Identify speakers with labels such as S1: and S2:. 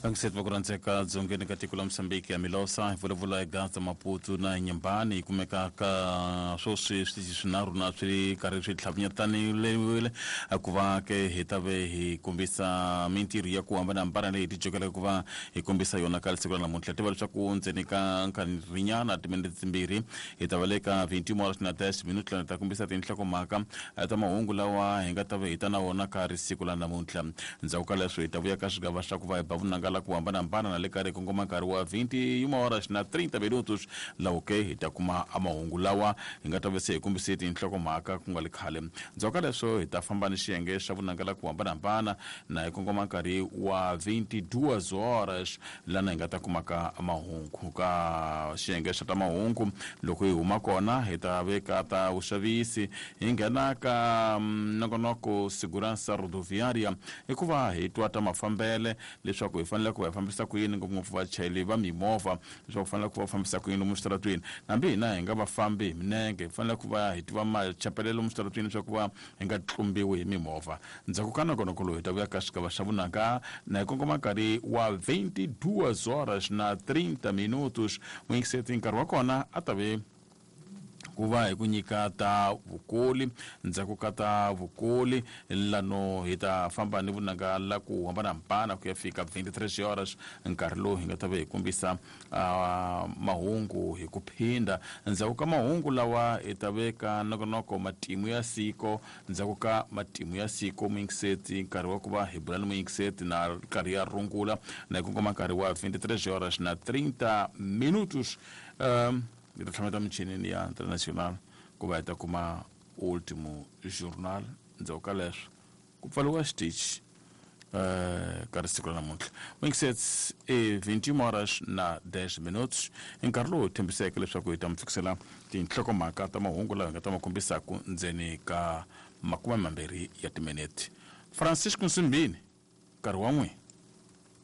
S1: Vangiseti va ku rhandzeka dzongeni ka tiko la Mozambique ya Milosa hi vulavula hi Gaza Maputo na Nyembani yi kumeka ka swoswi switichi swinharhu na swi karhi swi tlhavinyetanile ku va ke hi ta ve hi kombisa mintirho ya ku hambanahambana leyi hi tijokelaka ku va hi kombisa yona ka siku ra namuntlha. Tiva leswaku ndzeni ka nkarhinyana timinete timbirhi hi ta va le ka 21 horas na 10 minutos lani hi ta kombisa tinhlokomhaka ta mahungu lawa hi nga ta va hi ta na wona ka ri siku la namuntlha. Ndzhaku ka leswo hi ta vuya ka swigava swa ku va hi ba vunanga la ku hambanahambana na le karhi hi kongoma nkarhi wa 21 horas na 30 minutos lawo ke hi ta kuma mahungu lawa hi nga ta va se hi kombise tinhlokomhaka ku nga li khale. Ndzhaku ka leswo hi ta famba ni xiyenge xa vunanga la ku hambanahambana na hi kongoma nkarhi wa 22 horas lana hi nga ta kumaka mahungu ka xiyenge xa ta mahungu. Loko hi huma kona hi ta veka ta vuxavisi hi nghena ka nongonoko Segurança Rodoviária hikuva hi twa ta mafambele leswaku hi fanele ku va hi fambisa ku yini ngopfungopfu vachayeri va mimovha leswaku fanele ku va fambisa ku yini lomu switaratweni. Hambi hina hi nga va fambi hi minenge hi fanele ku va hi tiva machapelelo lomu switaratweni leswaku va hi nga tlumbiwi hi mimovha. Ndzhaku ka nongonoko lowu hi ta vuya ka xigava xa vunanga na hi kongoma nkarhi wa 22 horas na 30 minutos. Muyingiseti nkarhi wa kona a ta ve ku va hi ku nyika ta vukoli. Ndzhaku ka ta vukoli lano hi ta famba ni vunanga la ku hambanahambana ku ya fika 23 horas nkarhi lowu hi nga ta va hi kombisa mahungu hi ku phinda. Ndzhaku ka mahungu lawa hi ta veka nongonoko matimu ya siko. Ndzhaku ka matimu ya siko muyingiseti nkarhi wa ku va hi bula ni muyingiseti na nkarhi ya rungula na hi kongoma nkarhi wa 23 horas na 30 minutos. Hi ta tlhameta michinini ya international ku va hi ta kuma ultimo journal. Ndzhaku ka leswo ku pfariwa xitichi ka risiku ra namuntlha. Muyingiseti i 21 horas na 10 minutos i nkarhi lowu hi tshembiseke leswaku hi ta mi fikisela tinhlokomhaka ta mahungu lawa hi nga ta ma kombisaku ndzeni ka 20 ya timinete. Francisco Nsimbini nkarhi wa n'wina.